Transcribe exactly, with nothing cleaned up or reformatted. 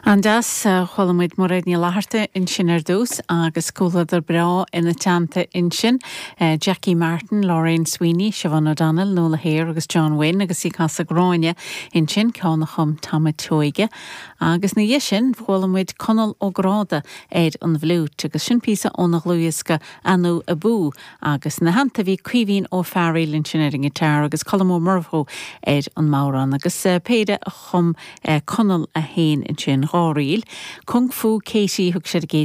An-deas chuala muid Mairéad Ní Fhlatharta ansin ar dtús agus comhluadar breá ina teannta ansin Jackie Martin, Lorraine Sweeney, Siobhan O'Donnell, Nuala Hare agus John Wynne agus í ag casadh Gráinne ansin ceann a chum Tom Seoige. Agus ina dhiaidh sin chuala muid Conall Ó Gráda ar an bhfliúit agus sin píosa óna dhlúthdhiosca Anú Abú agus ina theannta bhí Caoimhín Ó Fearghail ansin ar an ngiotár agus Colm Ó Murchú ar an mbodhrán agus péire a chum Conall é féin ansin dhá ríl. Kung Fu Katie thug sé a